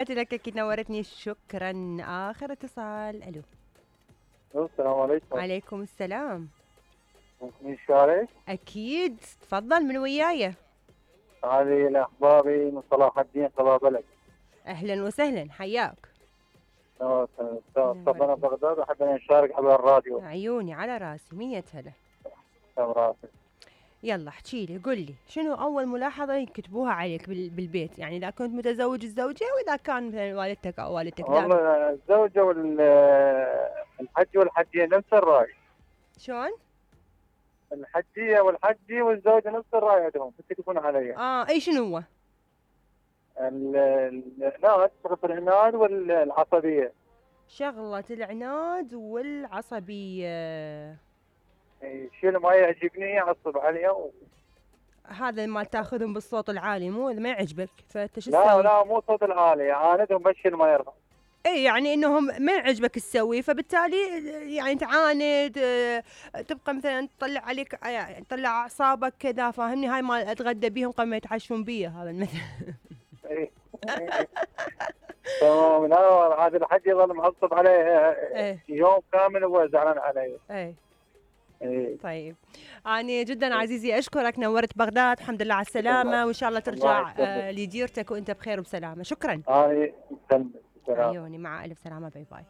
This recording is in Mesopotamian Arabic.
لك أكيد نورتني، شكرا. آخر اتصال. ألو. السلام عليكم. عليكم السلام. من الشارع؟ أكيد، تفضل من وياي. هذه الأخباري من صلاح الدين طلابلد. أهلا وسهلا، حياك. صبنا بغداد، وأحب أن نشارك على الراديو. عيوني على راسي، 100 هلا. راسي. يلا احكي لي، قل لي شنو أول ملاحظة يكتبوها عليك بالبيت، يعني إذا كنت متزوج الزوجة وإذا كان مثلا والدتك أو والدتك. والله الزوجة والحج والحجية نفس الرأي. شلون؟ الحجية والحجي والزوجة نفس الرأي عندهم يكتبون علي. أي شنو هو؟ العناد، شغلة العناد والعصبية. شغلة العناد والعصبية. الشيء اللي ما يعجبني يعصب عليه هذا ما تاخذهم بالصوت العالي، مو ما يعجبك فانت شو لا تسوي؟ لا، مو صوت العالي، يعاندهم بس الشيء اللي ما يرضى. اي يعني انهم ما يعجبك تسوي، فبالتالي يعني تعاند، تبقى مثلا تطلع عليك، يعني تطلع اعصابك كذا، فاهمني؟ هاي ما اتغدى بيهم قبل ما يتعشون بي، هذا المثل. إيه. تمام. لا، هذا الحج يظل معصب عليه يوم كامل وهو زعلان عليه. ايه. طيب، أنا جدا عزيزي أشكرك، نورت بغداد، الحمد لله على السلامة، وإن شاء الله ترجع لديرتك وأنت بخير وبسلامة. شكرا. عيوني، عيوني، مع ألف سلامة، باي باي.